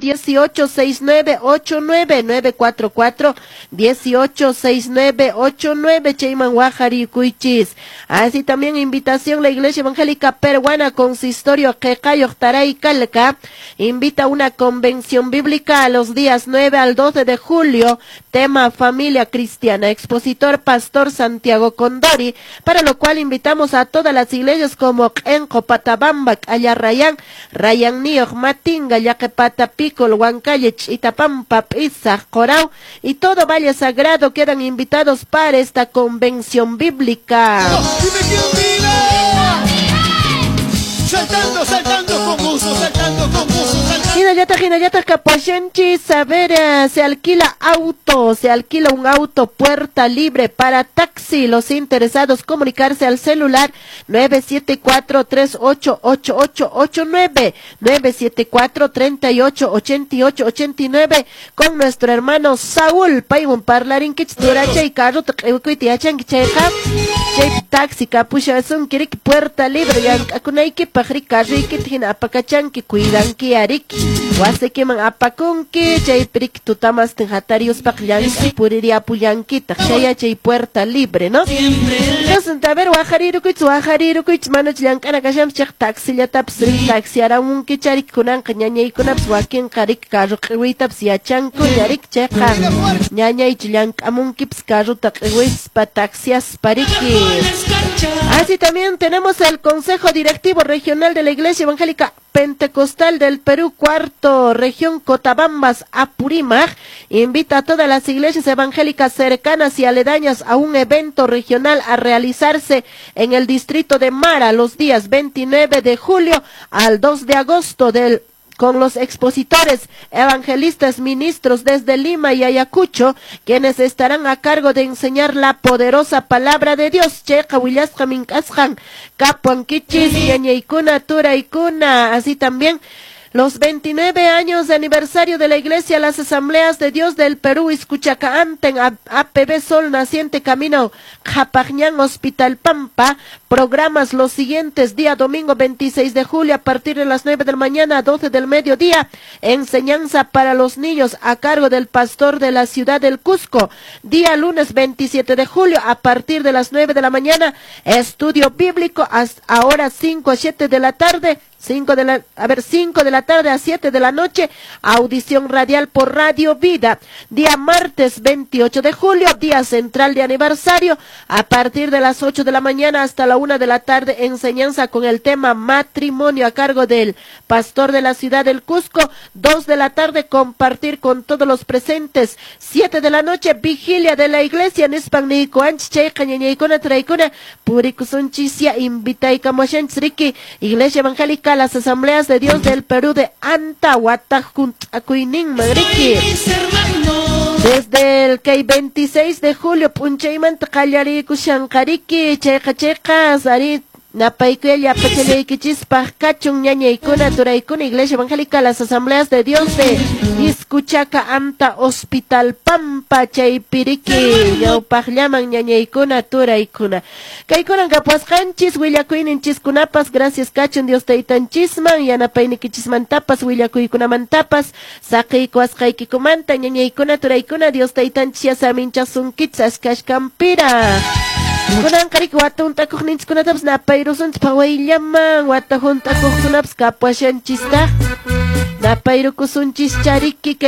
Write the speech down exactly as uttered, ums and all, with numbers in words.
dieciocho seis nueve ocho nueve, nueve cuatro cuatro dieciocho seis nueve ocho nueve, chayman wajarikuychis. Así también invitación la Iglesia Evangélica Peruana Consistorio Qeqayoq Taray Calca invita a una convención bíblica a los días nueve al doce de julio, tema familia cristiana, expositor Pastor Santiago Condori, para lo cual invitamos a todas las iglesias como Q'enqo, Patabamba, Allarrayán, Rayan Nioq, Matinga, Llaqepata, Picol, Huancalle, Chitapampa, Pizaj, Corao y todo Valle Sagrado quedan invitados para esta convención bíblica. Dime quién vive. Saltando, saltando con gusto, saltando con gusto, saltando. Hinallataq, hinallataq kapashanchis, a ver, eh, se alquila auto, se alquila un auto puerta libre para taxi. Los interesados comunicarse al celular nueve siete cuatro tres ocho ocho ocho ocho nueve, nueve siete cuatro treinta y ocho ochenta y ocho ochenta y nueve con nuestro hermano Saúl. Paywan parlarinkichis turachay carrota q'iwikuyta yachanki chayqa, chay taxi kapushasunki riki puerta libre llank'akunaykipaq riki carroykita hina apakachanki cuidanki ariki wasikiman apakunki chaypi riki tutamastin hatariuspaq llank'ay puririapullankitaq chaya chay puerta libre, ¿no? Entonces, a ver, wajarirukuychis, wajarirukuychis, manach llank'ana kashanpis chayqa taxillatapis riki taxiaramunki chariki kunanqa ñañaykunapis wakinqa riki carro q'iwiytapis yachankuña riki chayqa ñañaychi llank'amunkipis carrota q'iwispa taxiaspa riki. Así también tenemos el Consejo Directivo Regional de la Iglesia Evangélica Pentecostal del Perú, cuarto región Cotabambas, Apurímac, invita a todas las iglesias evangélicas cercanas y aledañas a un evento regional a realizarse en el distrito de Mara los días veintinueve de julio al dos de agosto del con los expositores, evangelistas, ministros desde Lima y Ayacucho, quienes estarán a cargo de enseñar la poderosa palabra de Dios. Chayqa willasqa mink'asqan kapuankichis, ñañaykuna, turaykuna. Así también los veintinueve años de aniversario de la Iglesia, las Asambleas de Dios del Perú, Iskuchaka Anten, A P B Sol Naciente, Camino Japagñán, Hospital Pampa. Programas los siguientes: día domingo veintiséis de julio a partir de las nueve de la mañana a doce del mediodía, enseñanza para los niños a cargo del pastor de la ciudad del Cusco. Día lunes veintisiete de julio a partir de las nueve de la mañana, estudio bíblico hasta ahora cinco a siete de la tarde. Cinco de la, a ver, cinco de la tarde a siete de la noche, audición radial por Radio Vida. Día martes veintiocho de julio, día central de aniversario, a partir de las ocho de la mañana hasta la una de la tarde, enseñanza con el tema matrimonio a cargo del pastor de la ciudad del Cusco. Dos de la tarde, compartir con todos los presentes. Siete de la noche, vigilia de la iglesia, nispan niykuwanchis, chayqa ñañaykuna, turaykuna, purikusunchisya, invitaykamushanchis riki, Iglesia Evangélica, las Asambleas de Dios del Perú de Anta, Huatajkunt'akuyninman riki. Desde el kay veintiséis de julio, p'unchaymanta qallariykushanqariki, chayqa chayqa, ari napaykuya llapachallaykichispaq kachun ñañaykuna, turaykuna, Iglesia Evangélica, las Asambleas de Dios de Iskuchaka Anta, Hospital Pampa, chaypiriki, ñawpaqllaman ñañaykuna, turaykuna. Kaykunan kapuasqanchis, willakuyninchiskunapas, gracias kachun Dios taytanchisman, yanapaynikichismantapas, willakuykunamantapas, saqiykuwasqaykikumanta, ñañaykuna, turaykuna, Dios taytanchis yasaminchasunkichis ashkashkampira. Kunanqa riki wata hunt'akuqninchiskunatapas napayrusunchis phawayllaman, wata hunt'akuqkunapas kapuashanchistaq, napayrukusunchis chariki.